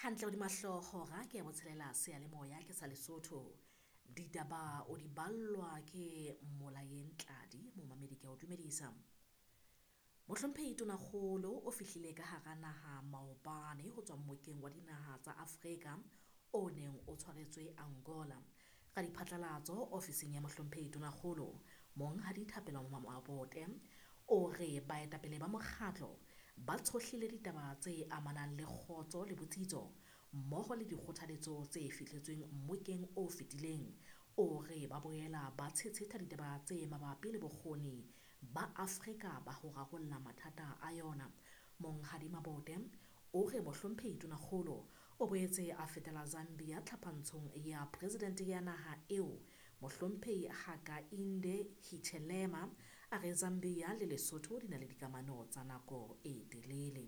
Hantle hodima hlooho hora ke ya botshelela seyalemoya ke sa Lesotho. Ditaba o di ballwa ke Molayeng Tladi, momamedi ke a o dumedisa. Mohlomphehi Tonakgolo o fihlile ka hara naha maobane ho tswa mmokeng wa dinaha tsa Afrika o neng o tshwaretswe Angola. Ka diphatlalatso ofising ya Mohlomphehi Tonakgolo, Monghadi Thapelo Mabote o re baetapele ba mokgatlo ba tshohlile ditaba tse amanang le kgotso le botsitso mmoho le dikgothaletso tse fihletsweng mmokeng o fetileng. O re ba boela ba tshetshetha ditaba tse mabapi le bokgoni ba Afrika ba ho rarolla mathata a yona. Monghadi Mabote o re Mohlomphehi Tonakgolo o boetse a fetela Zambia tlhaphantshong ya presidente ya naha eo Mohlomphehi Hakainde Hichilema a re Zambia le Lesotho di na le dikamano tsa nako e telele.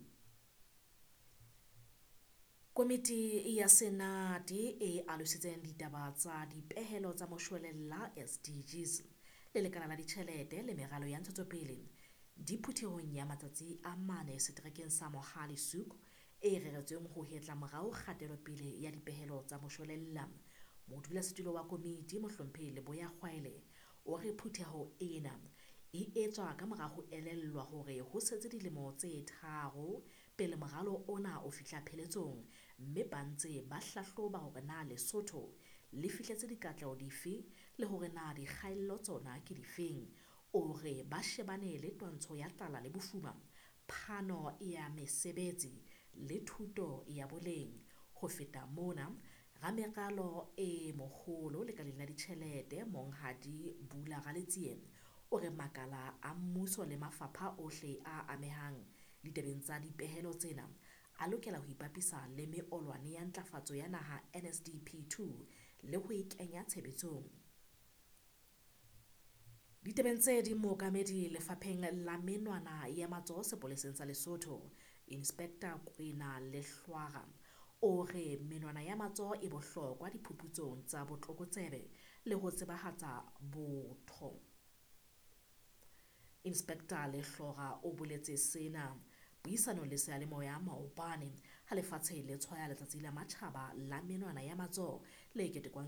Komiti ya Senate e alositseng ditaba tsa dipehelo tsa moshwelella SDGs le lekala la ditjhelete le meralo ya ntshetsopele di phuthehong ya matsatsi a mane seterekeng sa Mohale's Hoek e reretsweng ho hetla morao kgatelopele ya dipehelo tsa moshwelella. Modulasetulo wa komiti Mohlomphehi Leboya Kgwaele o re phutheho ena e etswa ka mora ho elellwa hore ho setse dilemo tse 3 pele moralo ona o fihla pheletsong, mme ba ntse ba hlahloba hore na Lesotho le fihletse dikatleho dife le hore na dikgaello tsona ke difeng. O re ba shebane le twantsho ya tlala le bofuma, phano ya mesebetsi le thuto ya boleng. Ho feta mona, rameralo e moholo lekaleng la ditjhelete Monghadi Bula Raletsie o re makala a mmuso le mafapha ohle a amehang ditabeng tsa dipehelo tsena a lokela ho ipapisa le meolwane ya ntlafatso ya naha NSDP 2 le ho e kenya tshebetsong. Ditabeng tse ding, mookamedi lefapheng la menwana ya matsoho sepoleseng sa Lesotho, Inspector Kwena Lehlwara o re menwana ya matsoho e bohlokwa diphuputsong tsa botlokotsebe le ho tsebahatsa botho. Inspector Lehlora o boletse sena puisanong le seyalemoya maobane ha lefatshe le tshwaya letsatsi la matjhaba la menwana ya matsoho le ketekwang